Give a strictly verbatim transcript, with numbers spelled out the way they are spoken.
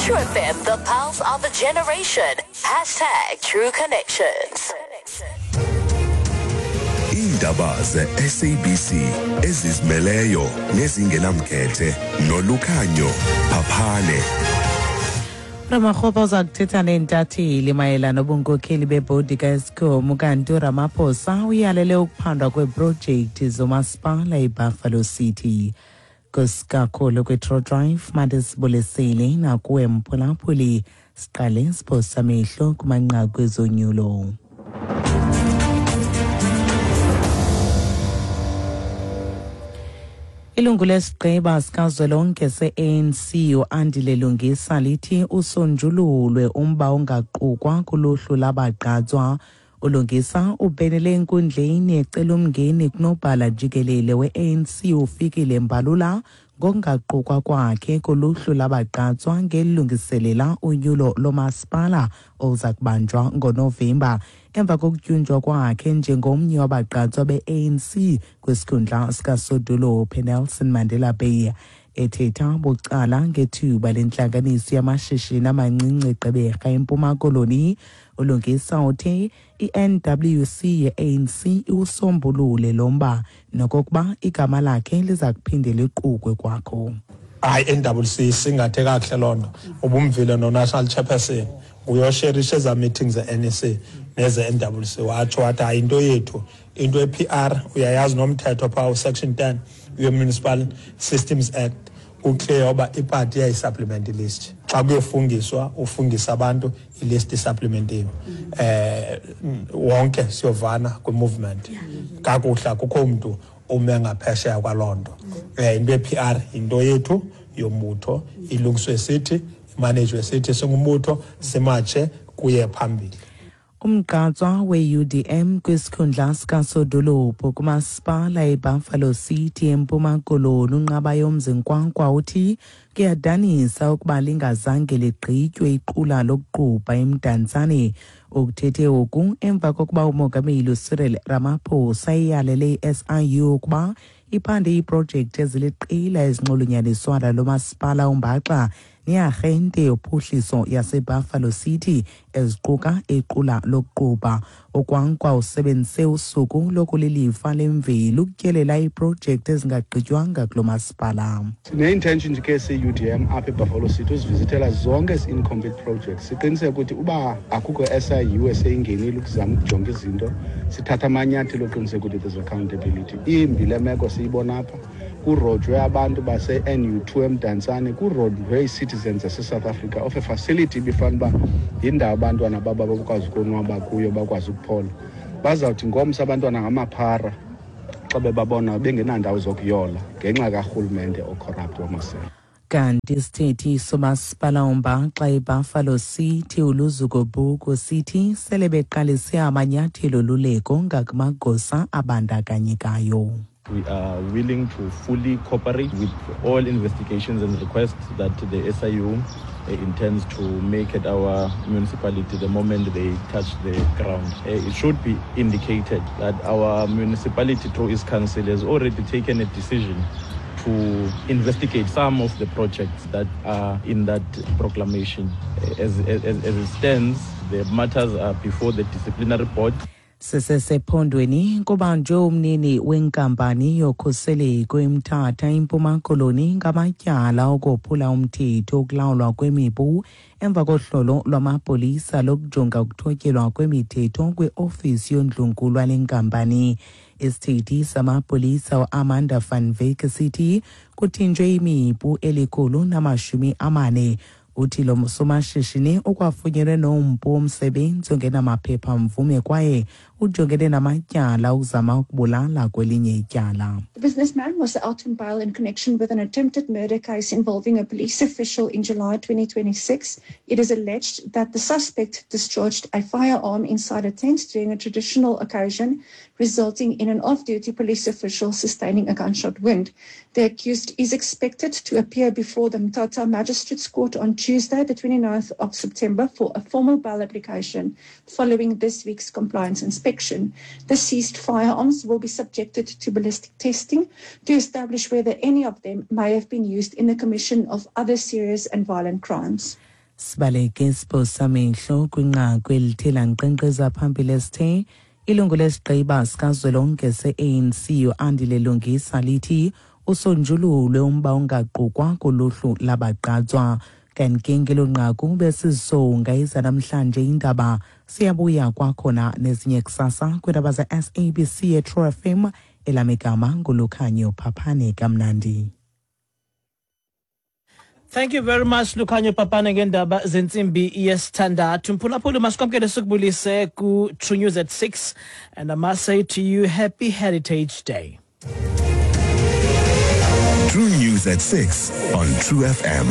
True F M, the pulse of a generation. Hashtag True Connections. Iindaba ze-S A B C ezizimeleyo nezingenamkhethe noLukhanyo Phaphane. Ramokgopa uza kuthetha neentatheli mayelana nobunkokheli bebhodi kaEskom, kanti uRamaphosa uyalele ukuphandwa kweeprojekthi zomasipala iBuffalo City. Kusikakhulu kwi-True Drive, mandisibulisele nakuwe mphulaphuli. Siqale siphosa amehlo kumanqaku ezonyulo. Ilungu lesigqeba sikazwelonke se-A N C uAndile Lungisa lithi usonjululwe umba ongaqukwa kuluhlu labagqatswa. ULungisa ubhenele enkundleni ecela umngeni kunobhala jikelele we-A N C uFikile Mbalula ngokungaqukwa kwakhe kuluhlu labagqatswa ngelungiselela unyulo lomasipala oluza kubanjwa ngoNovemba, emva kokutyunjwa kwakhe njengomnye wabagqatswa be-A N C kwisikhundla sikasodolophu eNelson Mandela Bay. Ethetha bucala ngethuba lentlanganiso yamashishini amancinci eGqeberha, eMpuma Koloni, uLungisa uthe i-N W C ye-A N C iwusombulule lo mba nokokuba igama lakhe liza kuphinde liqukwe kwakho. Hayi, N W C singathe kakuhle loo nto. Ubumvile no-national chairperson uyosherisha eza meetings ze-N E C neze-N W C, watsho wathi hayi, into yethu, into ye-P R, uyayazi nomthetho phaa usection ten ye-Municipal Systems Act uclear uba ipati iyayisupplement ilist. Xa kuyofungiswa, ufungisa abantu, ilist isupplementiwe. eh wonke siyovana kwi-movement kakuhle, akukho mntu ume ngaphesheya kwaloo nto. um into ye-P R yinto yethu yombutho, ilungiswe sithi, imanejwe sithi singumbutho, simatshe kuye phambili. Umgqatswa we-U D M kwisikhundla sikasodolophu kumasipala iBuffalo City eMpuma Koloni uNqabayomzi Kwankwa uthi kuyadanisa ukuba lingazange ligqitywe iqula lokuqubha eMdantsane. Ukuthethe oku emva kokuba umongameli uCyril Ramaphosa eyalele i-S I U ukuba iphande iiprojekthi eziliqela ezinxulunyaniswa nalo masipala umbaxa nearhente yophuhliso yaseBuffalo City, eziquka iqula lokuqubha. UKwankwa usebenzise usuku lokulilifa lemveli ukutyelela iiprojekthi ezingagqitywanga kulo masipala. Sine-intention ke siyi-U D M apha eBuffalo City uzivizithela zonke ezi incomplete projects, siqiniseke ukuthi uba akukho S I U eseyingenile ukuzama ukujonga izinto, sithatha amanyathelo oqiniseka ukuthi there's accountability. Imbi le meko siyibona apha, kurojwe abantu base-N U two eMdantsane, kurojwe ii-citizens zaseSouth Africa of a facility ibifana uba yindawo abantwana babo bakwazi ukonwaba kuyo, bakwazi ukuphola. Bazawuthi ngomso abantwana ngamaphara xa bebabona bengenandawo zokuyola ngenxa karhulumente ocorrupt wamasela. Kanti isithethi somasipala umbaxa iBuffalo City uLuzuko Buku sithi sele beqalise amanyathelo oluleko ngakumagosa abandakanyekayo. We are willing to fully cooperate with all investigations and requests that the S I U uh, intends to make at our municipality the moment they touch the ground. Uh, it should be indicated that our municipality through its council has already taken a decision to investigate some of the projects that are in that proclamation. As, as, as it stands, the matters are before the disciplinary board. Sisesephondweni, kubanjwe umnini wenkampani yokhuseleko eMthatha, iMpuma Koloni, ngamatyala okophula umthetho okulawulwa kwemipu emva kohlolo lwamapolisa lokujonga ukuthotyelwa kwemithetho kwiofisi yondlunkulu wale nkampani. Isithethi samapolisa uAmanda van Wyk sithi kuthinjwe imipu elikhulu namashumi amane. Uthi lo somashishini ukwafunyenwe nompu womsebenzi ongenamaphepha mvume kwaye ujongene namatyala okuzama ukubulala kwelinye ityala. The businessman was out on bail in connection with an attempted murder case involving a police official in July twenty twenty-six. It is alleged that the suspect discharged a firearm inside a tent during a traditional occasion, resulting in an off-duty police official sustaining a gunshot wound. The accused is expected to appear before the Mthatha Magistrates Court on Tuesday, the 29th of September, for a formal bail application following this week's compliance inspection. The seized firearms will be subjected to ballistic testing to establish whether any of them may have been used in the commission of other serious and violent crimes. Sibaleke siphosamehlo kwinqaku elithe lankqenkqeza phambili esithe ilungu lesigqiba sikazwelonke se-A N C uAndile Lungisa lithi usonjululwe umba ongaqukwa kuluhlu labagqatswa. Kanti ke ngelo nqaku besizisonga ezanamhlanje indaba. Siyabuya kwakhona nezinye kusasa kwiindaba ze-S A B C eTrue F M. Elam igama nguLukhanyo Phaphane. Kamnandi. Thank you very much, Lukhanyo Papane, ngendaba zentsimbi yesithandathu. Mphulaphuli, masikwamkele sikubulise ku True News at six, and I must say to you, happy Heritage Day. True News at six on True F M.